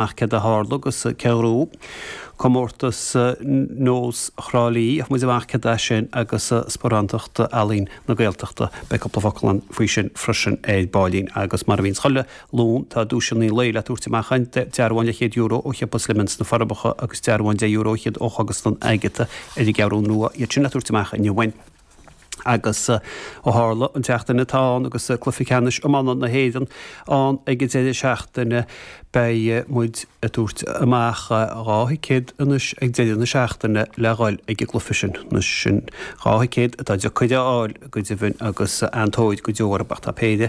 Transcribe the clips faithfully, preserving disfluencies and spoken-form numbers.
Ach céard a tharla agus cé a ghnóthaigh comórtas Nós Thrá Lí, gheobhaidh muid amach céard é sin agus Sparántacht Ealaíon na Gaeltachta. Beidh cúpla focal ann faoi sin freisin ar baillín. Agus mar a bhíonns chuile Luan, tá duaiseanna an lae le tabhairt amach againn, dearbhán leathchéad euro ó Shiopa Slimmins sna Forbacha agus dearbhán deich euro fhichead ó Chógaslann Agatha ar an gCeathrú Rua, iad sin le tabhairt amach inniu againn. Agus ó tharla an tseachtain atá ann agus cluiche ceannais iomána na hÉireann ann ag an deireadh seachtaine, beidh muid ag tabhairt amach dhá thicéad anois ag deireadh na seachtaine le dhul ag an gcluiche sin. Anois sin dhá thicéad atá deacair a fháil go deimhin agus an-tóir go deo orthu ach tá péire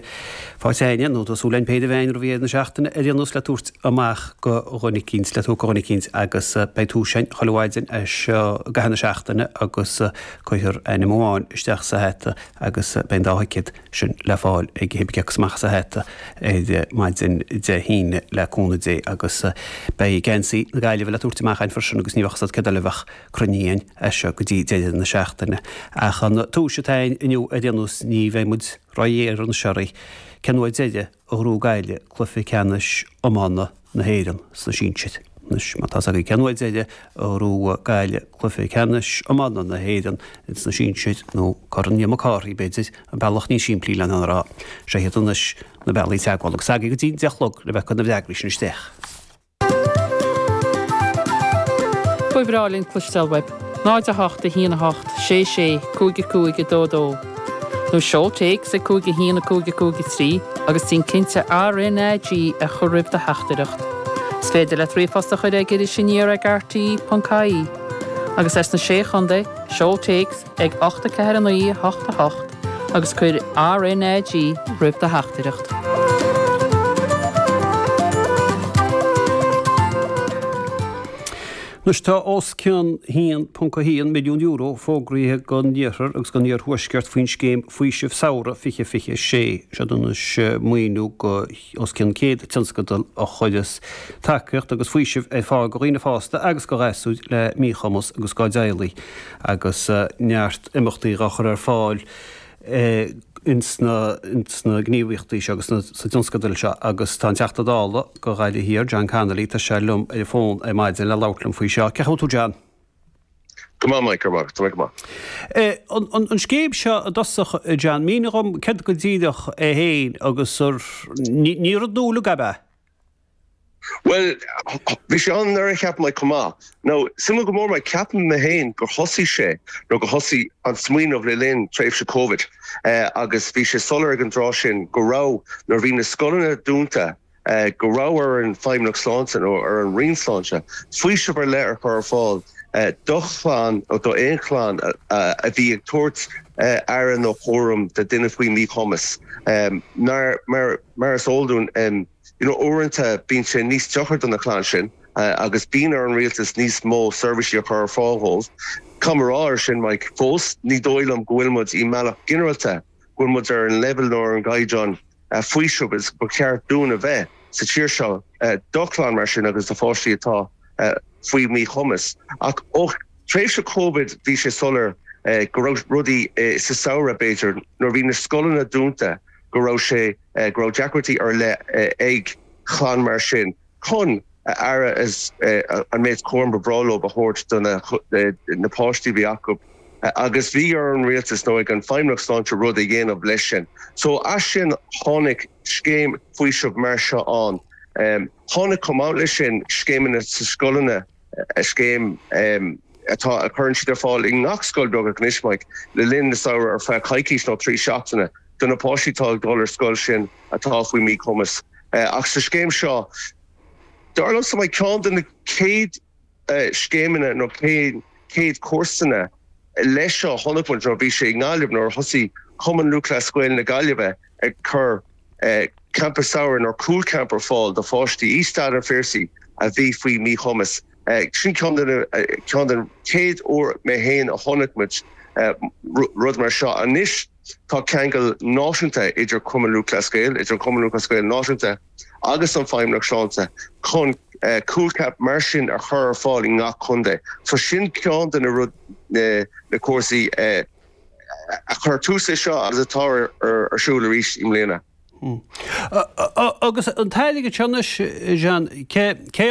faighte againne, nó tá súil againn péire a bheith againn roimh dheireadh na seachtaine ar aon nós le tabhairt amach go dhuine eicínt, le tabhairt go dhuine eicínt agus beidh tomhas againn chuile mhaidin as seo i gcaitheamh na seachtaine agus cuirfear ainm amháin isteach sa hata agus beidh an dá thicéad sin le fáil ag cibé cé acu amach as an hata ar maidin Dé hAoine le cúnamh Dé agus beidh geansaí na Gaillimhe le tabhairt amach againn freisin agus ní bheadh a fhios agat céard eile a bheadh cruinnithe againn as seo go dtí deireadh na seachtaine. Ach an tomhas atá againn inniu ar aon nós ní bheidh muid róghéar anois oraibh cén uair deiridh a ghnóthaigh Gaillimh cluiche ceannais iomána na hÉireann sna sinsir. Anois, má tá a fhios agaibh cén uair deiridh a ghnóthaigh Gaillimh cluiche ceannais iomána na hÉireann ins na sinsir, nó Corn Liam Mac Cárthaigh, b'fhéidir, an bealach níos simplí lena rá, seo iad anois na bealaí teagmhála agus agaibh go dtí an deich a chlog le bheith ag cur na bhfreagraí sin isteach. Ba bhreá linn cloisteáil uaibh. náid a hocht a haon a hocht sé sé cúig a cúig a dó dó. Nó seol téacs ag cúig a haon a cúig a cúig a trí agus déan cinnte R N A G a chur roimh do theachtaireacht. Is féidir leat ríomhphost a chur ag Iris Aniar ag R T E ponc I E. Agus as na Sé Chontae, seol téacs ag ocht a ceathair a naoi a hocht a hocht agus cuir R N A G roimh do theachtaireacht. Anois tá os cionn haon ponc a haon milliún euro fógraithe don iarthar agus don iarthuaisceart faoin scéim Faoiseamh Samhraidh fiche fiche sé. Seo anois maoiniú go os cionn céad tionscadal a chuireas tacaíocht agus faoiseamh ar fáil go dhaoine fásta agus go ghasúir le míchumas agus dá dteaghlaigh agus neart imeachtaí dhá chur ar fáil ins na ins na gníomhaíochtaí seo agus sna tionscadail seo agus tá an Teachta Dála go Ghaillimh Thiar, John Connolly, tá sé liom ar an bhfón ar maidin le labhairt liom faoi seo. Cén chaoi a bhfuil tú John? Go maith Mike, go maith, tá mé go maith. An an scéim seo i dtosach John, mínigh dhom céard go díreach é féin agus ar ní ní rud nua uilig ab ea? Bhuel, bhí sé an-áirithe cheap mé chomh maith. Now, suimiúil go mór mé, ceapaim mé féin gur thosaigh sé, nó gur thosaigh an smaoineamh le linn tréimhse Covid agus bhí sé soiléir ag an dtráth sin go raibh, nuair a bhí na scoileanna dúnta, go raibh ar an Feidhmeannacht Sláinte nó ar an Roinn Sláinte faoiseamh ar leith a chur ar fáil do chlann nó d'aon chlann a bhí ag tabhairt aire nó cúram do duine faoi mhíchumas. Mar, mar is eol dúinn, You know, uaireanta bíonn sé níos deacra do na clann sin agus bíonn ar an rialtas níos mó seirbhísí a chur ar fáil dhóibh. Caithfidh mé a rá ar sin, Mike, fós ní dóigh liom go bhfuil muid i mbealach ginearálta, go bhfuil muid ar an leibhéal nó ar an gcaighdeán faoisimh is ba cheart dúinn a bheith sa tír seo do chlann mar sin agus do pháistí atá faoi mhíchumas. Ach ó thréimhse Covid bhí sé soiléir go raibh rudaí sa samhradh, b'fhéidir, nuair a bhí na scoileanna dúnta, go raibh sé, go raibh deacrachtaí ar leith ag clann mar sin chun aire is an méid cúraim ba bhreá leo a thabhairt do na páistí a bhí acu agus bhí ar an rialtas nó ag an Feidhmeannacht Sláinte rud a dhéanamh leis sin. So as sin tháinig scéim faoisimh mar seo ann. Tháinig chomh maith leis sin scéimeanna sa scoileanna, scéim atá, a chuireann siad ar fáil i ngach scoil beagnach anois, Mike, le linn na samhradh ar feadh coicís nó trí seachtaine. Do na páistí atá ag dul ar scoil sin atá faoi mhíchumas. Ach sa scéim seo, dar liomsa, Mike, ceann de na chéad scéimeanna nó chéad cúrsanna leis seo a chonaic muid nuair a bhí sé i nGaillimh nuair a thosaigh Cumann Lúthchleas Gael na Gaillimhe ag cur campa samhraidh nó cúl camp ar fáil do pháistí i Staid an Phiarsaigh a bhí faoi mhíchumas. Sin ceann de na, ceann den chéad uair mé féin a chonaic muid rud mar seo. Anois tá ceangal náisiúnta idir Cumann Lúthchleas Gael, idir an Cumann Lúthchleas Gael náisiúnta agus an Feidhmeannacht Sláinte chun cúl camp mar sin a chur ar fáil i ngach contae. So sin ceann de na rud, na cúrsaí a chuir tús leis seo agus atá ar siúl arís i mbliana. Agus an t-airgead seo anois Jean cé